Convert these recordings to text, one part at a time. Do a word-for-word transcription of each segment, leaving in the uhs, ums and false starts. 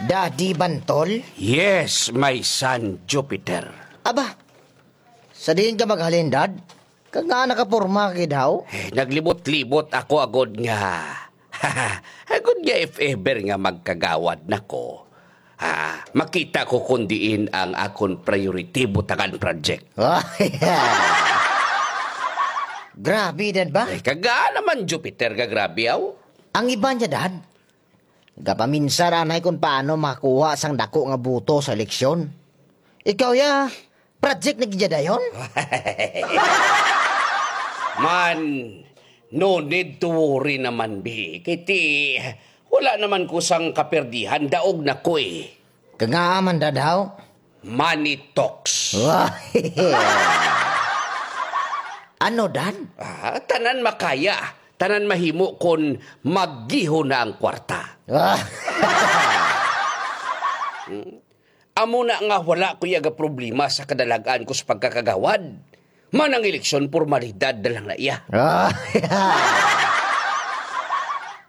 Daddy Bantol? Yes, my son Jupiter. Aba, sa diin ka maghalin, Dad? Kag nga nakaporma ka gid, haw? Eh, naglibot-libot ako agod nga, agod nga if ever nga magkagawad na ko, ah, makita ko kung diin ang akon priority butangan project. Grabe, Dad, ba? Eh, kaga naman, Jupiter, ka grabe, aw. Ang iba niya, Dad, gapaminsar anay kung paano makakuha sang dako nga boto sa eleksyon. Ikaw ya, project na gid ya dayon? Man, no need to worry naman, bi. Kay ti, wala naman ko sang kaperdihan, daog na ko eh. Kaga man, Dad, haw? Money talks. Ano, Dad? Ah, tanan makaya, tanan mahimo kon maggiho na ang kwarta. Hmm? Amo na nga wala ko iya problema sa kadalag-an ko sa pagkakagawad. Man ang eleksyon, formalidad na lang na iya.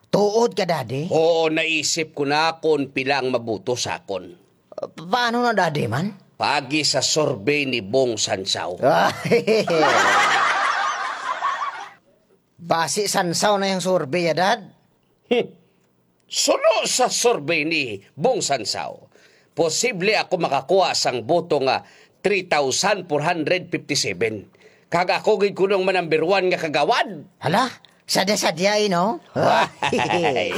Tuod ka, Daddy? Oo, naisip ko na kon pila ang maboto sa akon. Pa-, paano na, Daddy, man? Pagi sa survey ni Bong Sansaw. Basi Sansaw na yang survey, ya, Dad? Hmm. Suno sa survey ni Bong Sansaw, posible ako makakuha sang boto nga three thousand four hundred fifty-seven. Kag ako gid kuno ang manumber one nga kagawad. Hala, sadya-sadya, eh, no? Ay.